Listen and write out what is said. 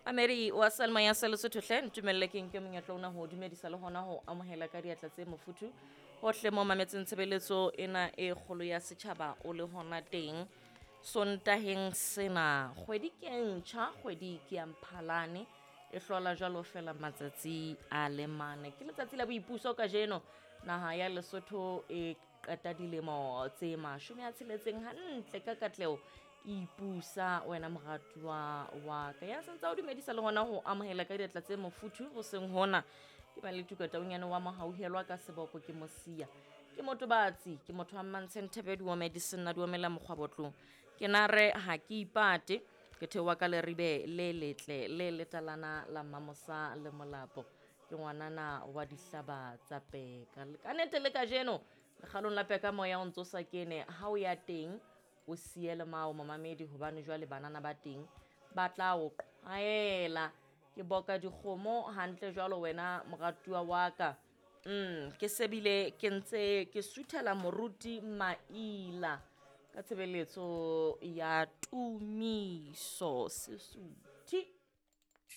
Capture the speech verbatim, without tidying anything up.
Ameri wa Salma ya Lesotho hle ntumelle ke nke monyetla ona ho dumedisa le hona ho amohela ka diatla tse mofuthu hohle mo mametseng tshebeletso ena e kgolo ya setjhaba o le hona teng Sontaheng sena. Kgwedi ke ntjha, kgwedi ke ya Mphalane, e hlola jwalo fela matsatsi a le mane. Ke letsatsi la boipuso kajeno, naha ya Lesotho e qeta dilemo tse mashome a tsheletseng hantle ka katleho ipusa. Wena moratuwa wa ka ya sentse o dumedisa le hona ho amohela ka diatla tse mofuthu hoseng hona ke ba le tukataunyane wa mohauhelwa ka seboko ke mosia ke motobatsi ke motho wa Mmantshe Thebedi wa medicine na duomela mokgwabotlong ke nare ha ke ipate ke theoha ka leribe le letle le letalana la Mmamosa le Molapo ke ngwanana wa dihlaba tsa peka. Ka nnete le kajeno lekgalong la peka moya o ntso sa kene ha o ya teng o siele mao momamedi hobane jwale banana ba teng ba tla o qhwaela. Ke boka dikgomo hantle jwalo wena moratuwa wa ka. Mm, ke sebile ke ntse ke suthela moruti Maila ka tshebeletso ya tumiso Sesuthi.